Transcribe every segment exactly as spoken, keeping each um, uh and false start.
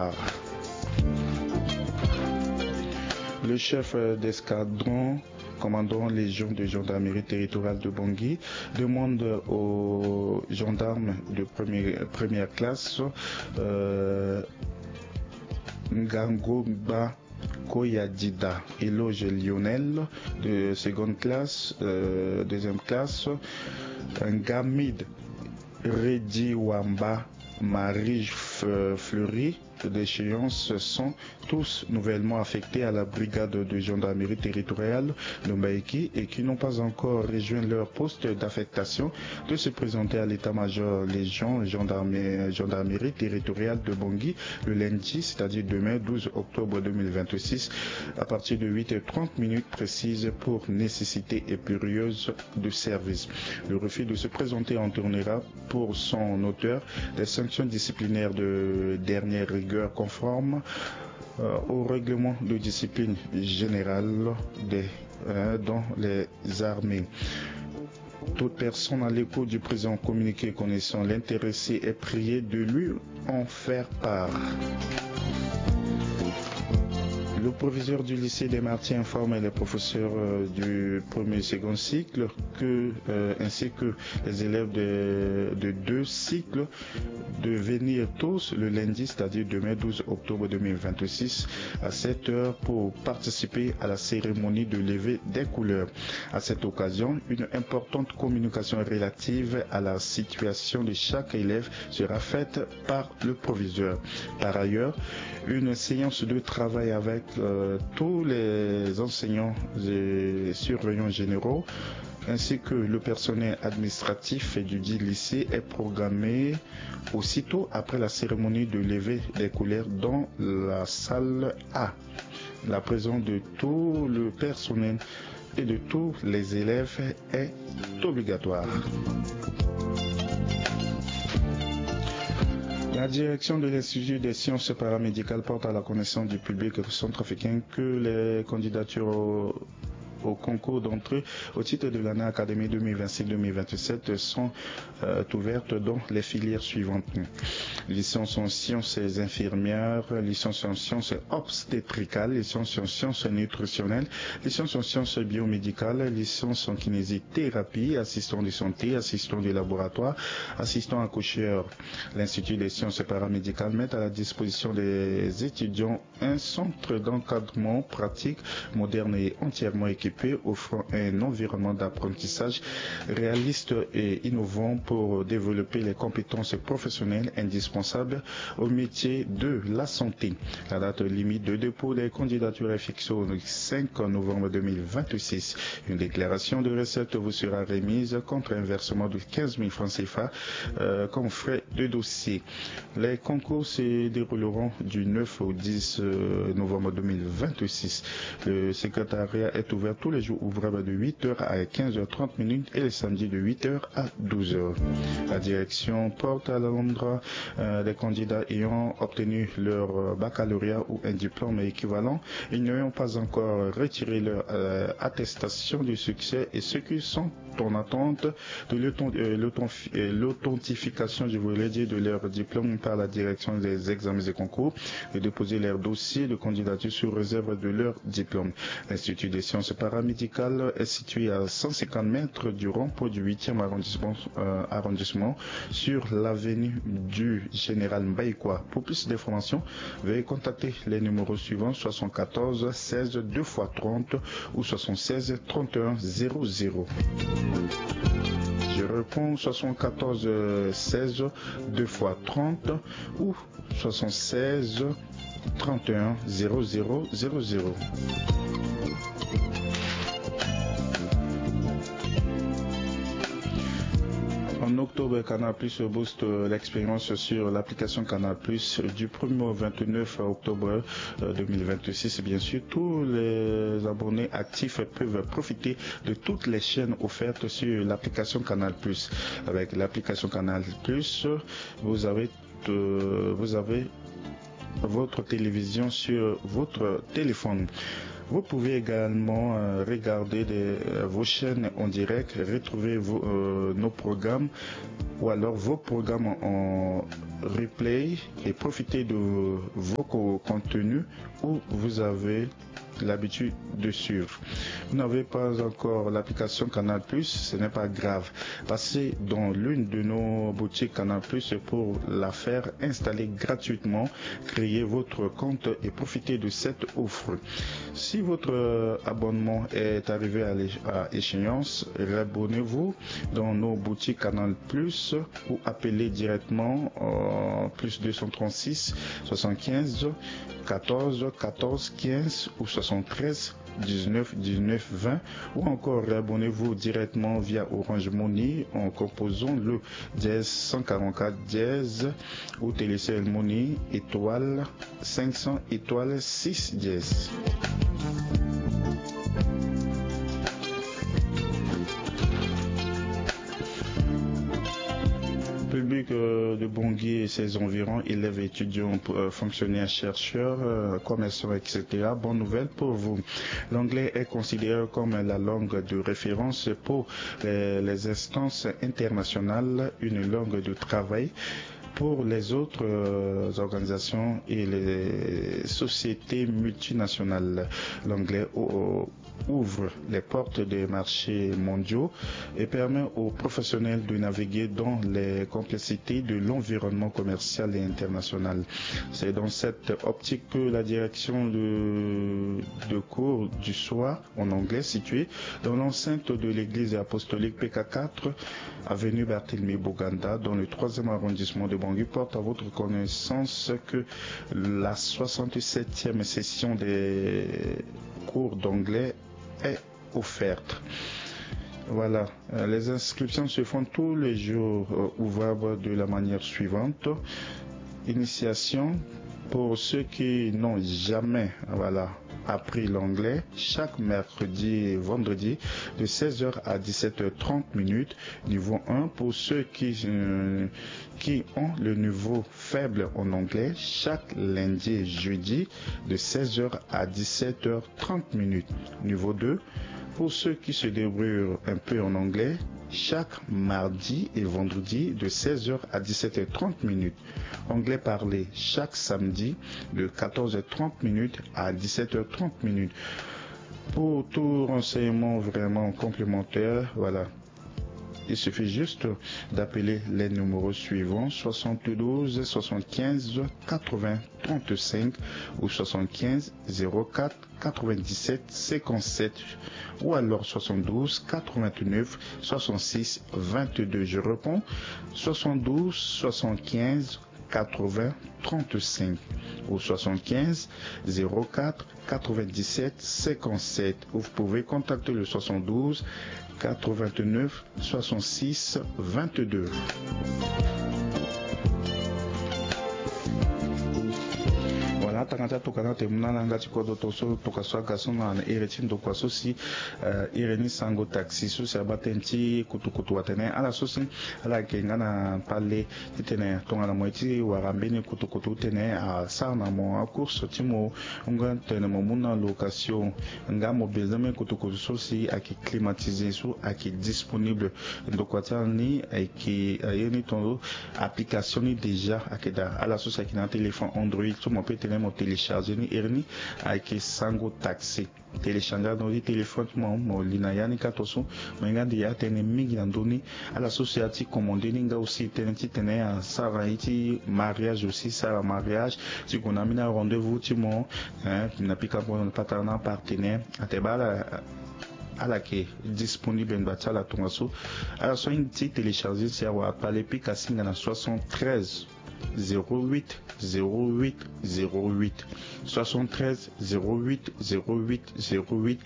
Le chef d'escadron, commandant légion de gendarmerie territoriale de Bangui, demande aux gendarmes de première, première classe, euh, Ngangoba Koyadida, éloge Lionel de seconde classe, euh, deuxième classe, Ngamid Rediwamba, Marie F-, Fleury, d'échéance sont tous nouvellement affectés à la brigade de gendarmerie territoriale de Mbaïki et qui n'ont pas encore rejoint leur poste d'affectation de se présenter à l'état-major légion gendarme-, gendarmerie territoriale de Bangui le lundi, c'est-à-dire demain douze octobre deux mille vingt-six, à partir de huit heures trente minutes précises pour nécessité impérieuse de service. Le refus de se présenter entraînera pour son auteur des sanctions disciplinaires de dernière rigueur conformes, euh, au règlement de discipline générale des, euh, dans les armées. Toute personne à l'écoute du présent communiqué connaissant l'intéressé est priée de lui en faire part. Le proviseur du lycée des Martyrs informe les professeurs, euh, du premier et second cycle que, euh, ainsi que les élèves de, de deux cycles de venir tous le lundi, c'est-à-dire demain douze octobre deux mille vingt-six, à sept heures pour participer à la cérémonie de levée des couleurs. À cette occasion, une importante communication relative à la situation de chaque élève sera faite par le proviseur. Par ailleurs, une séance de travail avec, euh, tous les enseignants et surveillants généraux ainsi que le personnel administratif du dit lycée est programmée aussitôt après la cérémonie de levée des couleurs dans la salle A. La présence de tout le personnel et de tous les élèves est obligatoire. La direction de l'Institut des sciences paramédicales porte à la connaissance du public centrafricain que les candidatures au, au concours d'entrée au titre de l'année académique deux mille vingt-six deux mille vingt-sept sont, euh, ouvertes dans les filières suivantes. Licence en sciences infirmières, licence en sciences obstétricales, licence en sciences nutritionnelles, licence en sciences biomédicales, licence en kinésithérapie, assistant de santé, assistant de laboratoire, assistant accoucheur. L'Institut des sciences paramédicales met à la disposition des étudiants un centre d'encadrement pratique, moderne et entièrement équipé, offrant un environnement d'apprentissage réaliste et innovant pour développer les compétences professionnelles indispensables au métier de la santé. La date limite de dépôt des candidatures est fixée au cinq novembre deux mille vingt-six. Une déclaration de recette vous sera remise contre un versement de quinze mille francs C F A, euh, comme frais de dossier. Les concours se dérouleront du neuf au dix, euh, novembre deux mille vingt-six. Le secrétariat est ouvert tous les jours ouvrables de huit heures à quinze heures trente minutes et les samedis de huit heures à douze heures. La direction porte à l'endroit, euh, des candidats ayant obtenu leur, euh, baccalauréat ou un diplôme équivalent et n'ayant pas encore retiré leur, euh, attestation de succès et ceux qui sont en attente de l'authent-, euh, l'authent-, euh, l'authentification, je voulais dire, de leur diplôme par la direction des examens et concours et déposer leur dossier de candidature sous réserve de leur diplôme. L'Institut des sciences paramédicales est situé à cent cinquante mètres du rond-point du huitième arrondissement, euh, arrondissement, sur l'avenue du Général Mbaïkoua. Pour plus d'informations, veuillez contacter les numéros suivants, soixante-quatorze seize deux fois trente ou soixante-seize trente et un zéro zéro. Je réponds, soixante-quatorze seize deux fois trente ou soixante-seize trente et un zéro zéro zéro zéro. En octobre, Canal Plus booste l'expérience sur l'application Canal Plus du premier au vingt-neuf octobre, euh, deux mille vingt-six. Bien sûr, tous les abonnés actifs peuvent profiter de toutes les chaînes offertes sur l'application Canal Plus. Avec l'application Canal Plus, vous avez, euh, vous avez votre télévision sur votre téléphone. Vous pouvez également euh, regarder des, euh, vos chaînes en direct, retrouver vos, euh, nos programmes ou alors vos programmes en replay et profiter de vos co- contenus où vous avez l'habitude de suivre. Vous n'avez pas encore l'application Canal Plus, ce n'est pas grave. Passez dans l'une de nos boutiques Canal Plus pour la faire installer gratuitement. Créez votre compte et profitez de cette offre. Si votre euh, abonnement est arrivé à l'éch- à échéance, réabonnez-vous dans nos boutiques Canal Plus ou appelez directement euh, plus deux cent trente-six soixante-quinze quatorze quatorze quinze ou soixante-treize dix-neuf dix-neuf vingt ou encore réabonnez-vous directement via Orange Money en composant le dièse cent quarante-quatre dièse ou Telecel Money étoile cinq cents étoile six dièse. Public euh, de Bangui et ses environs, élèves, étudiants, euh, fonctionnaires, chercheurs, euh, commerçants, et cetera. Bonne nouvelle pour vous. L'anglais est considéré comme la langue de référence pour les, les instances internationales, une langue de travail pour les autres euh, organisations et les sociétés multinationales. L'anglais o- ouvre les portes des marchés mondiaux et permet aux professionnels de naviguer dans les complexités de l'environnement commercial et international. C'est dans cette optique que la direction de, de cours du soir en anglais située dans l'enceinte de l'église apostolique P K quatre, avenue Barthélemy Boganda, dans le troisième arrondissement de Bangui, porte à votre connaissance que la soixante-septième session des cours d'anglais est offerte. Voilà, euh, les inscriptions se font tous les jours euh, ouvrables de la manière suivante. Initiation pour ceux qui n'ont jamais, voilà, appris l'anglais, chaque mercredi et vendredi de seize heures à dix-sept heures trente minutes, niveau un. Pour ceux qui, euh, qui ont le niveau faible en anglais, chaque lundi et jeudi de seize heures à dix-sept heures trente minutes, niveau deux. Pour ceux qui se débrouillent un peu en anglais, chaque mardi et vendredi de seize heures à dix-sept heures trente minutes. Anglais parlé chaque samedi de quatorze heures trente minutes à dix-sept heures trente minutes. Pour tout renseignement vraiment complémentaire, voilà. Il suffit juste d'appeler les numéros suivants, soixante-douze soixante-quinze quatre-vingts trente-cinq ou soixante-quinze zéro quatre quatre-vingt-dix-sept cinquante-sept ou alors soixante-douze quatre-vingt-neuf soixante-six vingt-deux. Je réponds, soixante-douze soixante-quinze quatre-vingts trente-cinq ou soixante-quinze zéro quatre quatre-vingt-dix-sept cinquante-sept. Ou vous pouvez contacter le soixante-douze quatre-vingt-neuf soixante-six vingt-deux. Voilà, tanga ti atokana ti muna na yanga ti kodro, tongana so tokua so aga so na iri ti ndokua so si, eh, iri ni sango taxi so si abaa tënë ti kutukutu, atene ala so si ala yeke nga na pale titene tongana mo ye ti wara mbeni kutukutu titene asara na mo acourse ti mo, nga titene mo mu na location, nga mo besoin mbeni kutukutu so si ayeke climatisé, so ayeke disponible. Ndokua ti ala ni ayeke, aye ni tongaso, application ni déjà ayeke daa. Ala so si ayeke na téléphone Android so mo peut tene mo télécharger ni, iri ni ayeke Sango Taxi. Télécharger na ndö ti téléphone ti mo, mo li na ya ni kâ tongaso. Mo ye nga ande ya tënë mingi na ndö ni. Ala so si aye ti commander ni nga aussi tënë titene asara ye ti mariage aussi, sara mariage, ti gue na ambeni arendez-vous ti mo, hein, na pika mo na patara na apartenaire. Atene baa ala, ala yeke disponible ngba ti ala tongaso. Ala so ahinga ti télécharger si awara pale, pika singa na soixante-treize zéro huit zéro huit zéro huit, soixante-treize zéro huit zéro huit zéro huit.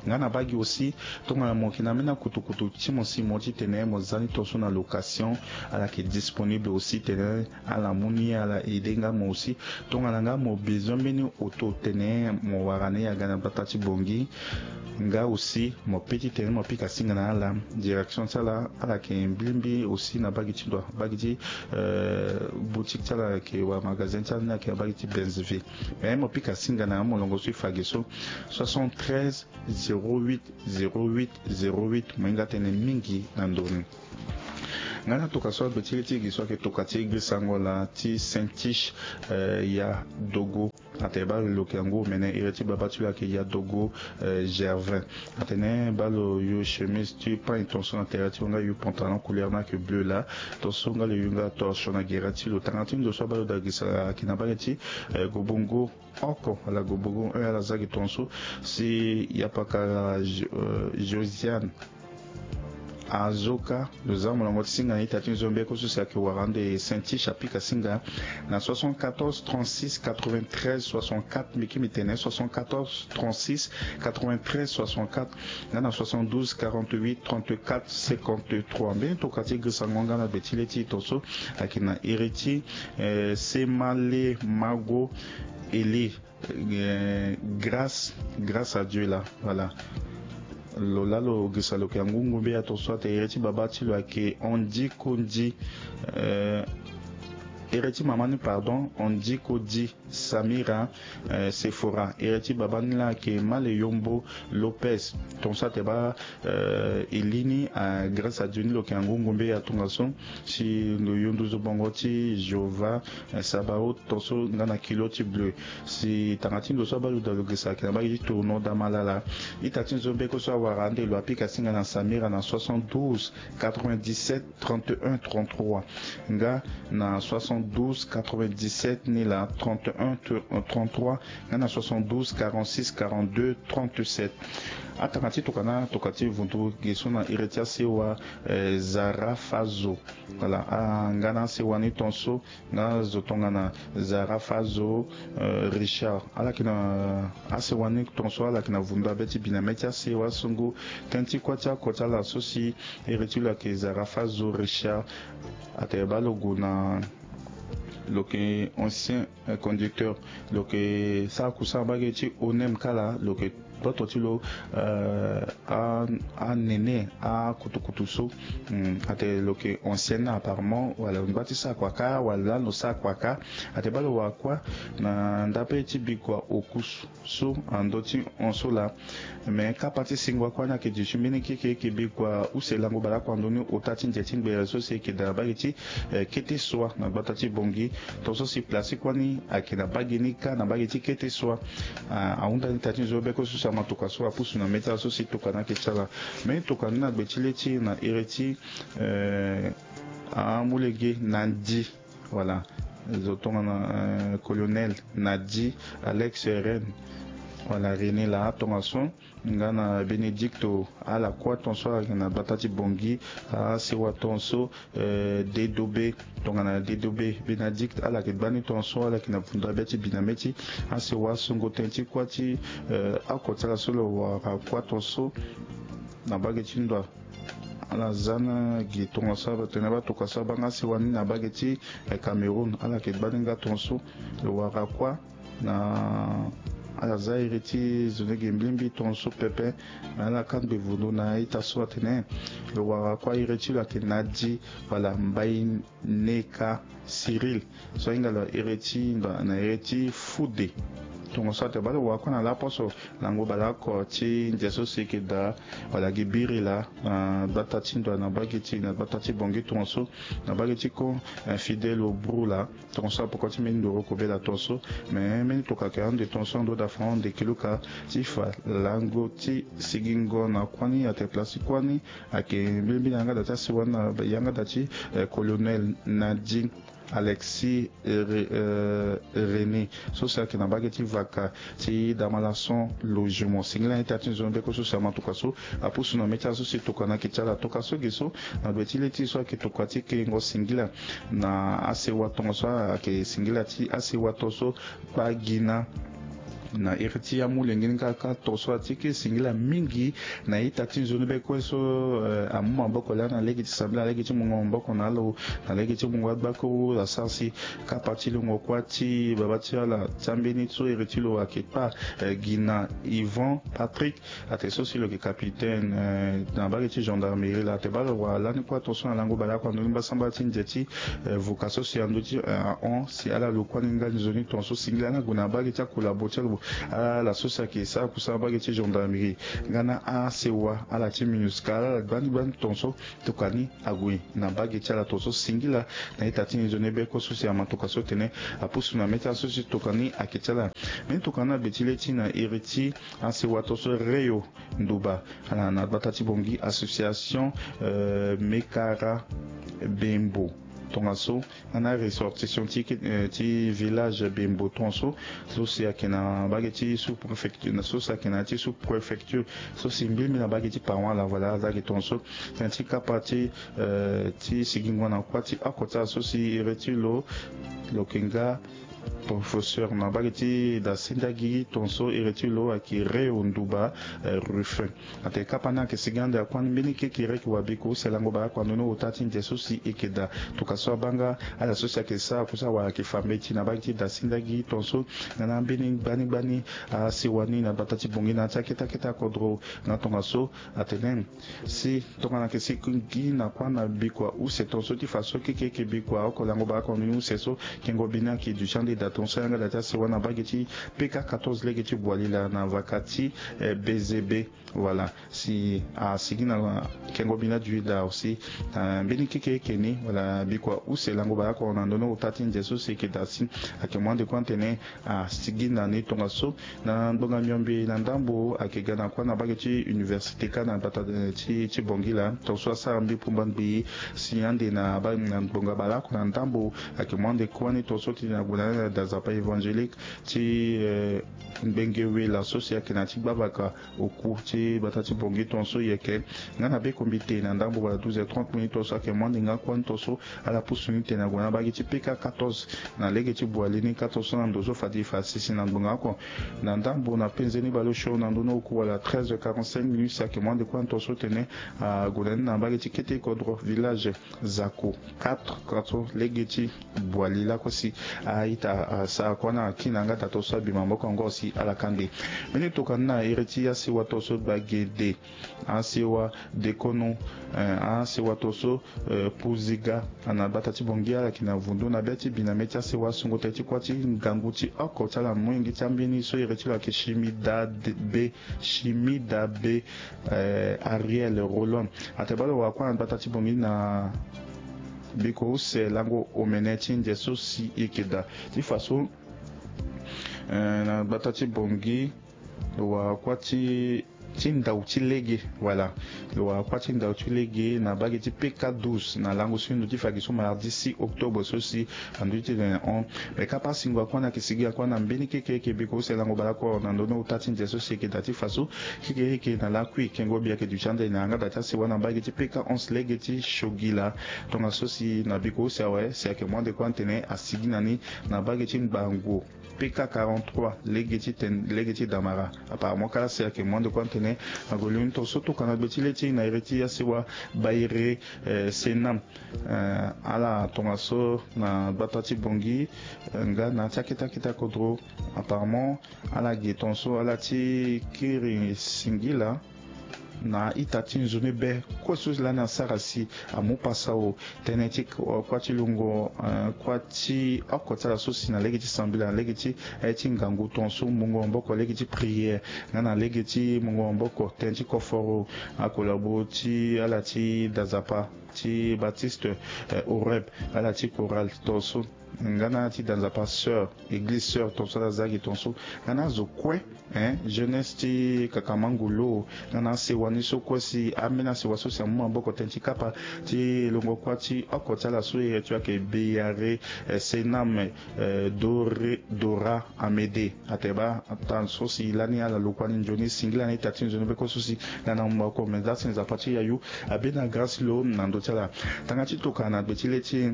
Nga na baa gi aussi, tongana mo yeke na ambeni akutukutu ti mo si mo titene mo za ni tongaso na location, ala yeke disponible aussi titene ala mu ni, ala aider nga mo aussi. Tongana nga mo besoin mbeni auto titene mo wara ni aga na gbata ti Bangui, nga aussi mo peut titene mo pika singa na ala. Direction ti ala, ala yeke mbi mbi aussi na baa gi ti ndo, baa gi ti, euh, boutique ti ala ayeke wala magasin ti ala ni ayeke na mbage ti Benz V. Mais mo pika singa na ya molongo so e fa gi so, soixante-treize zéro huit zéro huit zéro huit. Mo hinga tënë mingi na ndoni. Nga na tokua so agbe ti le ti e gi so ayeke tokua ti girisango laa ti Saint-Tiche, eh, ya Dogo. Atene baa lo yeke na ngu omene, iri ti baba ti lo ayeke ya Dogo, eh, Gervin. Atene baa lo yo chemise ti pagne, tonso na tere ti lo nga yo pantalon couleur ni ayeke bleu laa. Tonso nga lo yo nga torchon na gere ti lo. Tanga ti ndo so abaa lo daa girisa ayeke na mbage ti, eh, Gobongo oko, ala Gobongo un, ala za gi tonso. Si ya pakara Jo-, eh, Josiane Azoka, lo za molongo ti singa na ita ti nzombe oko so si ayeke wara ande Saint-Tiche, apika singa na soixante-quatorze trente-six quatre-vingt-treize soixante-quatre, mbi ki mbi tene soixante-quatorze trente-six quatre-vingt-treize soixante-quatre, nga na soixante-douze quarante-huit trente-quatre cinquante-trois. Mbeni tokua ti girisango nga na gbe ti le ti e tonso ayeke na iri ti, eh, Semale Mago Eli. Eh, grâce, grâce à Dieu là, voilà. Lo laa lo girisa lo yeke na ngu ngombe ya tonso atene iri ti baba ti lo ayeke Andy Kondi, eh, iri ti mama ni, pardon, Andy Kodi Samira, eh, Sephora. Iri ti baba ni laa ayeke Male Yombo Lopez. Tonso atene baa, eh, e li ni, ah, grâce à Dieu ni lo yeke na ngu ngombe ya tongaso. Si lo yo nduzu bongo ti Jéhovah, eh, Sabaoth, tonso nga na kilo ti bleu. Si tanga ti ndo so abaa lo daa lo girisa ayeke na mbage ti Tournon Damalala. Ita ti nzombe oko so awara ande lo apika singa na Samira na soixante-douze quatre-vingt-dix-sept trente-et-un trente-trois, nga na soixante-douze quatre-vingt-dix-sept ni laa trente-et-un trente-trois, nga na soixante-douze quarante-six quarante-deux trente-sept. Atanga ti tokua na tokua ti vundu gi so na iri ti asewa, eh, Zara Fazo. Voilà, ah, nga na asewa ni tonso, nga zo tongana Zara Fazo, eh, Richard. Ala yeke na asewa ni tonso, ala yeke na vundu abe ti bi na mê ti asewa sungu. Tënë ti kuâ ti oko ti ala so si iri ti lo ayeke Zara Fazo Richard. Atene baa lo gue na, lo yeke ancien, eh, conducteur. Lo yeke sara kusara mbage ti Onem kâ laa, lo yeke toto ti lo, eh, a, anene akutukutu so. Hmm, atene lo yeke ancien apparemment, wala lo ngba ti sara kua kâ, wala lani lo sara kua kâ. Atene baa lo wara kuâ na ndape ti bikua okusu so na ndö ti hon so laa. Me kapa ti singo akuâ ni ayeke duti mbeni keke, e yeke bikua use lango baleoko na ndö ni ota ti nze ti ngbere so si e yeke daa na mbage ti, eh, kete sua na gbata ti Bangui. Tonso si place ti kuâ ni ayeke na mbage ni kâ na mbage ti kete sua. Ah, ahunda ni ita ti nzoni beko so si ama tokua so apusu na mê ti ala so si tokua ni ayeke ti ala. Me tokua ni na gbe ti le ti e na iri ti, eh, amolenge na ndi. Voilà. Zo tongana, euh, colonel Nadi, Alex Ren, voilà, René laa tongaso, nga na Bénédicto, ala kuâ tongaso ayeke na gbata ti Bangui, asewa tongaso, euh, Dedobe, tongana Dedobe, Bénédicte, ala yeke gbani tongaso, ala yeke na vundu abê ti bi na mê ti asewa songo tënë ti kuâ ti, euh, oko ti ala so lo wara kuâ tongaso na mbage ti ndoa. Ala za na gi tongaso, atene baa tokua so abaa nga asewa ni na mbage ti, eh, Cameroun. Ala yeke gbani nga tongaso, lo wara kuâ na, ala za iri ti zo ni gi mbilimbili tongaso pepe. Me ala kangbi vundu na ita so atene lo wara kuâ, iri ti lo ayeke Nadi, wala Mbaye Neka Cyril. So ahinga lo iri ti ndo na iri ti Foude. Tongaso atene baa lo wara kuâ na laposo lango baleoko ti nze so si e yeke daa, wala gi biri laa, na gbata ti ndoa na mbage ti, na gbata ti Bangui tongaso, na mbage ti Kô, eh, Fidèle Obru laa. Tongaso apoko ti mbeni ndoro kobela tongaso. Me mbeni tokua ayeke ande tongaso ando da fa ande kiluka ti fa lango ti sigingo na kuâ ni, atene place ti kuâ ni ayeke mbilimbili na yanga da ti asewa ni na yanga da ti, eh, colonel Nadi Alexis, eh, Re-, eh, René, so si ayeke na mbage ti vaka ti Damalason Logement. Singila ita ti nzoni beko so si ama tokua so apusu na mê ti ala so si tokua ni ayeke ti ala. Tokua so gi so na gbe ti le ti e so ayeke tokua ti kengo singila na asewa tongaso, ayeke singila ti asewa tongaso kpagina. Na iri ti amolenge ni kaka tongaso ati ke singila mingi na ita ti nzoni be kue so, eh, amu maboko laa na lege ti sambela, na lege ti mungo maboko na alo, na lege ti mungo agbakuru asara si kapa ti lungo kuâ ti baba ti ala ti ambeni so iri ti lo ayeke kpa, eh, gi na Yvan Patrick. Ate so si lo yeke capitaine, eh, na mbage ti gendarmerie laa. Ate baa lo wara lani kuâ tongaso na lango baleoko na ndoni mbasambala ti nze ti, eh, vuka so si andö ti, eh, ahon si ala lo kuâ ni nga nzoni tongaso singila na gue na mbage ti akolabo ti ala, ala so si ayeke sara kusala mbage ti gendarmerie nga na asewa ala ti MINUSCA, ala gbani gbani tongaso tokua ni ague na mbage ti ala tongaso singila na ita ti nzoni be kue so si ama tokua so tene apusu na mê ti ala so si tokua ni ayeke ti ala. Mê tokua ni na gbe ti le ti na iri ti asewa tongaso Reyo Nduba, ala na gbata ti Bangui, association, euh, Mekara Bembo tongaso, nga na ressortissant ti, eh, ti village Bembo tongaso, so si ayeke na mbage ti sous-préfecture, na so si ayeke na ya ti sous-préfecture, so si mbi mbi na mbage ti Pawan laa, voilà, aza gi tongaso. Tënë ti kapa ti, eh, ti sigingo na kuâ ti oko ti ala so si iri ti lo, lo yeke nga professeur na mbage ti da sendagi tongaso, iri ti lo ayeke Reyo Nduba, eh, Ruffin. Ate kapa ni ayeke sigi ande akuâ ni mbeni kekereke wa biko use lango baleoko na ndoni ota ti nze so si e yeke daa. Tokua so abaa nga ala so si ayeke sara kusala wala ayeke fa mbeti na mbage ti da sendagi tongaso, nga na ambeni gbani gbani asewa ni na gbata ti Bangui na ya ti akete akete akodro. Nga tongaso atene si tongana ayeke si gi na kuâ na bikua use tongaso ti fa so kekereke bikua oko lango baleoko na ndoni use so kengo bi ni ayeke duti ande da tongaso ayanga da ti asewa na mbage ti P K quatorze lege ti Boualila na vaka ti, eh, B Z B. Voilà, si asigi na kengo bi ni adu daa aussi, eh, mbeni kekereke ni, voilà, bikua use lango baleoko na ndoni ota ti nze so si e yeke daa si ayeke mu ande kue atene asigi na ni tongaso. Na ngbonga miombe na ndambo ayeke ga na kuâ na mbage ti université kâ na gbata, eh, ti, ti Bangui laa, tongaso asara mbi pumba ngbii si ande na ba, na ngbonga baleoko na ndambo ayeke mu ande kuâ ni tongaso ti na gue na ni na da nzapa évangélique ti, eh, Ngbenge Wela so si ayeke na ya ti gbavaka oku ti gbata ti Bangui tongaso e yeke. Nga na be kombi te na ndambo wala douze heures trente minutes tongaso ayeke mu ande nga kuâ ni tongaso ala pusu ni tene ague na mbage ti P K quatorze na lege ti Boualila ni kâ tongaso na ndo so fade e fa sese na ngbonga oko. Na ndambo na penze ni baleosio na ndoni oku wala treize heures quarante-cinq minutes ayeke mu ande kuâ ni tongaso tene ague na ni na mbage ti kete kodro village Zako quatre, quatre lege ti Boualila lakue si a-ita asara kuâ ni akina nga da tongaso abi maboko yango si ala kâ nde. Mbeni tokua ni na iri ti asewa tongaso Gbagede, asewa Dekono, eh, asewa tongaso, eh, Puziga, na gbata ti Bangui ala yeke na vundu na be ti bi na mê ti asewa asungo tënë ti kuâ ti ngangu ti oko ti ala molenge ti ambeni so iri ti lo ayeke Shimida de-, be, Shimida be, eh, Ariel Roland. Ate baa lo wara kuâ na gbata ti Bangui na bikua use lango omene ti nze so si e yeke daa ti fa so, eh, na gbata ti Bangui lo wara kuâ ti, ti ndau ti lege, voilà. Lo wara kuâ ti ndau ti lege na mbage ti P K douze na lango so e ndö ti fa gi so mardi six octobre so si andö ti tene hon. Me kapa asingo akuâ ni ayeke sigi akuâ na mbeni kekereke bikua use lango baleoko na ndoni ota ti nze so si e yeke daa ti fa so kekereke na lakui kengo bi ayeke duti ande na yanga da ti asewa na mbage ti P K onze lege ti Shogila. Tongaso si na bikua use awe si ayeke mu ande kuâ ni tene asigi na ni na mbage ti Ngbango P K quarante-trois lege ti ten-, lege ti Damara. Apparemment kala si ayeke mu ande kuâ ni tene ague lio ni tongaso tokua na gbe ti le ti e na iri ti asewa Baire, eh, Senam. Eh, ala tongaso na gbata ti Bangui, eh, nga na ya ti akete akete akodro. Apparemment ala ge tongaso ala ti kiri singila na ita ti nzoni be kue so lani asara si amu pasa o. Tënë ti k-, kuâ ti lungo, eh, kuâ ti oko ti ala so si na lege ti sambela na lege ti, eh, ti ngangu tongaso mungo maboko lege ti prière nga na lege ti mungo maboko tënë ti koforo akolabo ti ala ti da nzapa ti Baptiste, eh, Horeb, ala ti chorale tongaso. Nga na ti da nzapa sœur, église sœur tongaso ala za gi tongaso. Nga na azo kue, eh, jeunesse ti Kakamango lo, nga na asewa ni so kue si ambeni asewa so si amu maboko tënë ti kapa ti longo kuâ ti oko ti ala so iri ti lo ayeke Beyare, eh, Senam, eh, Dore, Dora Amédée. Ate baa ata so si lani ala lo kuâ ni nzoni singila na ita ti nzoni be kue so si lani amu maboko me za si nzapa ti yayu abê na grâce lo na ndö ti ala. Tanga ti tokua na gbe ti le ti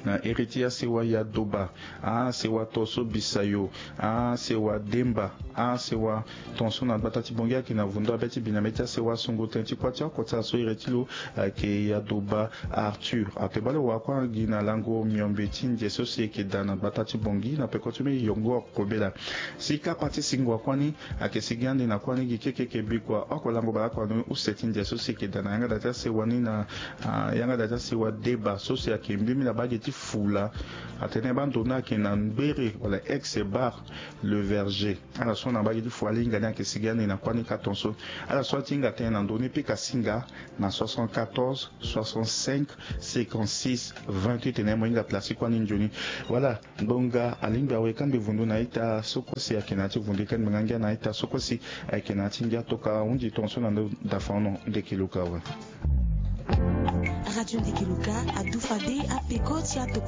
Na iri ti asewa Yadoba, asewa Tonso Bisayo, asewa Demba, asewa Tonso na gbata ti Bongi ayeke na vundo abe ti biname ti asewa sungu tënë ti kuâ ti oko ti ala so iri ti lo ayeke Yadoba Arthur. Atene bale wa kuâ gi na lango miombe ti ndia so si eke daa na gbata ti Bongi na peko ti mbi Yongor Kobela. Si kapa ti singo wa kuâ ni ayeke sigi ande na kuâ ni gi keke eke bikua oko lango bale oko na use ti ndia so si eke daa na yanga daa ti asewa ni na yanga daa ti asewa Deba so si ayeke mbimbi na bage ti Fula. Atene bando ni ayeke na Mbere wala ex bar Le Verger. Ala so na bage ti Fula alinga ni ayeke sigi ande na kuâ ni ka tonso. Ala so atinga tënë na ndö ni pika singa na soixante-quatorze soixante-cinq cinquante-six vingt-huit. Tene mo hinga place ti kuâ ni nzoni. Wala ngbonga alingbi awe kangbi vundu na ita so kue si ayeke na ya ti vundu e kangbi nga ngia na ita so kue si ayeke na ya ti ngia toka hundi tonso na ndo dafa ono. Ndeke luka awe. Radio Ndeke Luka adufa de apeko ti atoko.